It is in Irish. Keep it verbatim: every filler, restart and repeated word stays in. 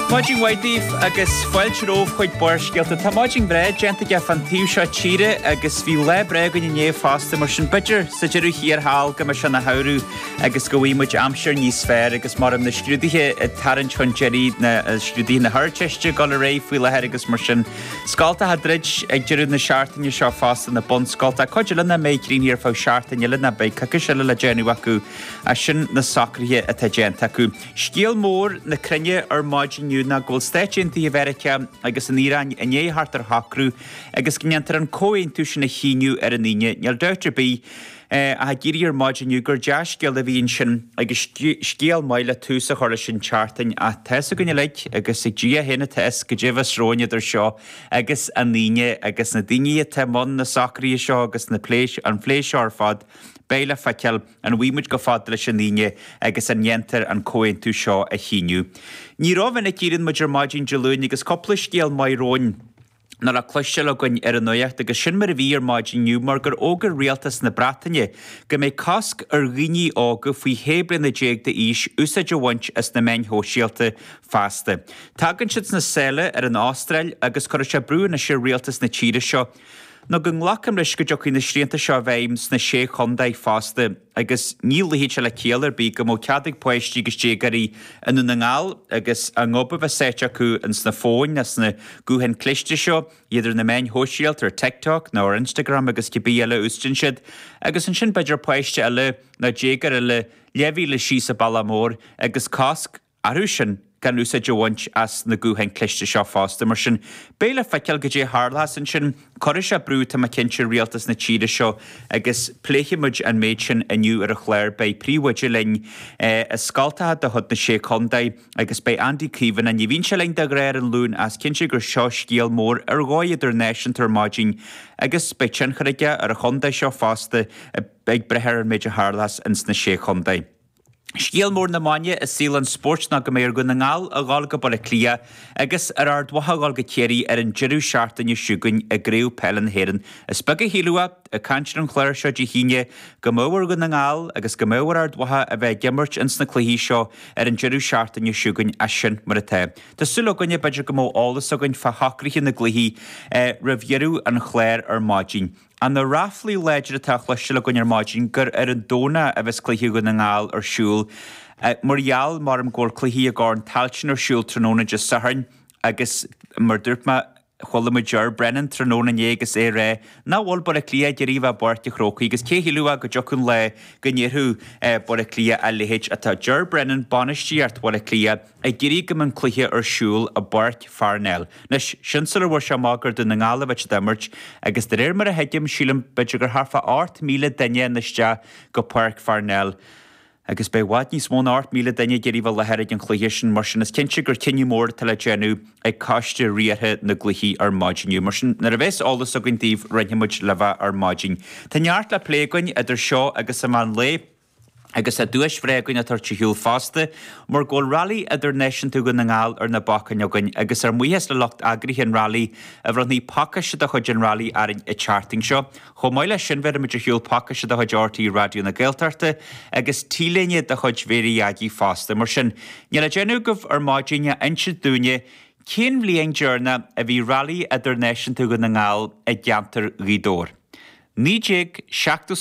Maidin mhaith daoibh agus fáilte romhaibh chuig Barrscéalta. Tá maidin bhreá déanta aige fan taobh seo tíre agus bhí lá breá againn inné fosta mar sin b'fhéidir sa deireadh thiar thall go mbeidh sé ina shamhradh agus go bhfaighidh muid aimsir níos fearr agus mar na scrúduithe ag tarraingt chun deiridh na scrúduithe na hArdteiste ag dul ar aghaidh faoi láthair agus mar sin. Scoltacha ag druid ag deireadh na seachtaine seo fosta na bunscoltacha. Cuid eile nach mbeidh críochnaithe ar feadh seachtain eile ná beidh coicís eile le déanamh acu as sin na socruithe atá déanta acu. Scéal mór na cruinne ar maidin inniu ná go bhfuil Stáit Aontaithe Mheiriceá agus an Iaráin i ndiaidh theacht ar shocrú agus go ndéantar an comhaontú sin a shíniú ar an Aoine. Níl dabht ar bith ach ag iarraidh ar maidin inniu gur dea-scéal a bhí ansin agus scéal maith le tús a chur leis an tseachtain ach tá fhios againn uilig agus ag Dia féin atá fhios goidé a bheas romhainn idir seo agus an Aoine agus na daoine atá i mbun na socruithe seo agus na plé an phlé seo ar fad beidh le feiceáil an bhfaighidh muid chomh fada leis an Aoine agus an ndéantar an comhaontú seo a shíniú. Ní rómhinic a éiríonn muid ar maidin Dé Luain agus cúpla scéal maith romhainn ná le cloisteáil againn ar an nuacht agus sin mar a bhí ar maidin inniu mar gur fhógair rialtas na Breataine go mbeidh cosc ar dhaoine óga faoi shé bliana déag d'aois úsáid a bhaint as na meáin shóisialta feasta. Tagann siad sna sála ar an Astráil agus cuirfidh sé brú anois ar rialtas na tíre seo. Nó go nglacaim leis go dtiocfaidh na srianta seo i bhfeidhm sna sé chontae fosta agus ní luífidh sé le ciall ar bith go mbeadh cead ag páistí agus déagóirí i nDún na nGall agus a ngob a bheith sáite acu ins na fóin nó sna gutháin cliste seo, iad ar na meáin shóisialta ar TikTok nó ar Instagram agus cibé eile a úsáideann siad, agus ansin b'fhéidir páiste eile nó déagóir eile leathmhíle síos an bealach mór agus cosc orthu sin gan úsáid a bhaint as na gutháin cliste seo fosta. Mar sin beidh le feiceáil goidé a tharlós ansin cuirfidh sé brú tá mé cinnte ar rialtas na tíre seo agus pléifidh muid an méid sin inniu ar an chlár. Beidh príomhoide linn i scoltacha de chuid na sé chontae agus beidh Andy Caomhánach. Ní bhíonn sé linn de ghnáth ar an Luan ach is cinnte gur seo scéal mór ar dhóigh idirnáisiúnta ar maidin agus beidh tionchar aige ar an chontae seo fosta ag breith ar an méid a tharlós ins na sé chontae. Scéal mór na maidine i saol an spóirt ná go mbeidh ar Dhún na nGall a dhul go Baile Átha Cliath agus ar Ard Mhacha a dhul go Ciarraí ar an deireadh seachtaine seo chugainn i gCraobh Peile na hÉireann. Is beag a shílfeadh ag caint ar an chlár seo Dé hAoine go mbeadh ar Dhún na nGall agus go mbeadh ar Ard Mhacha a bheith ag imirt ins na cluichí seo ar an deireadh seachtaine seo chugainn as sin mar atá. Tá súil againne b'fhéidir go mbeadh eolas againn fá shocruithe na gcluichí roimh dheireadh an chláir ar maidin. Ach na ráflaí láidre atá á chloisteáil againn ar maidin gur ar an Domhnach a bheas cluiche Dhún na nGall ar siúl. Mar gheall maram go bhfuil cluichí i gCorn Tailteann ar siúl tráthnóna Dé Sathairn agus mar dúirt mé chuala muid Ger Brennan tráthnóna inné agus é ag rá nach bhfuil Baile Átha Cliath ag iarraidh a bheith i bPáirc an Chrócaigh agus cé shílfeadh go dtiocfadh an lá go ndéarfadh Baile Átha Cliath a leithéid atá Ger Brennan bainistíocht Bhaile Átha Cliath ag iarraidh go mbeadh an cluiche ar siúl i bPáirc Pharnell. Anois, sin sular bhfuair sé amach gur Dún na nGall a bheidh siad ag imirt agus de réir mar a thuigim, sílim b'fhéidir gur thart fá ocht míle duine in isteach go Páirc Pharnell. Agus beidh i bhfad níos mó ná ocht míle duine ag iarraidh bheith i láthair ag an chluiche sin, mar sin is cinnte gur cinneadh mór atá le déanamh ag coiste riartha na gcluichí ar maidin inniu. Mar sin, nuair a bheas eolas againn daoibh, roinnfidh muid libh é ar maidin. Tá neart le plé againn idir seo agus an meán lae. Agus tá duais bhreá againn á tabhairt ar shiúl fosta, mar go bhfuil Rally Idirnáisiúnta Dhún na nGall ar na bacáin againn, agus ár mbuíochas le lucht eagraithe an Rally a bhronnfaidh pacáiste de chuid an Rally orainn an tseachtain seo. Chomh maith leis sin, bhéarfaimid ar shiúl pacáiste de chuid RTÉ Raidió na Gaeltachta agus T-léine de chuid Mhéirí Aggie fosta. Mar sin, níl le déanamh agaibh ar maidin ach inse dúinne cén bhliain deireanach a bhí Rally Idirnáisiúnta Dhún na nGall i gceantar Ghaoth Dobhair. Naoi déag seachtó